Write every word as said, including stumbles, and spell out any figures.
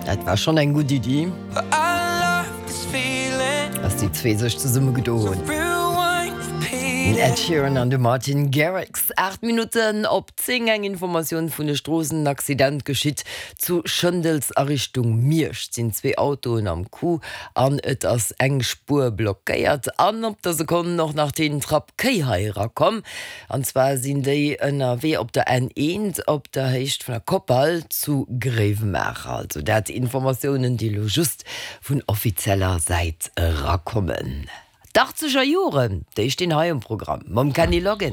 Dat war schonn eng gutt Iddi, dass déi zwee sech zesummegedoen hunn. Den Ed Sheeran an de Martin Garrix. Aacht Minutten op zéng, Eng Informatioun vun de Stroossen, En Accident geschitt zu Schëndels a Richtung Miersch. Et sinn zwee Autoen am Coup an et ass eng Spuer blockéiert. An op der Sekonn och nach den Trapp Kéi hei erakomm. An zwar sinn déi ënnerwee op der N eent op der Héicht vun der Koppal zu Gréiwemaacher. Also dat Informatiounen, déi elo just vun offizieller Säit erakommen. D'Achtzeger Joren, déi stinn hei um Programm mam Kenny Loggins.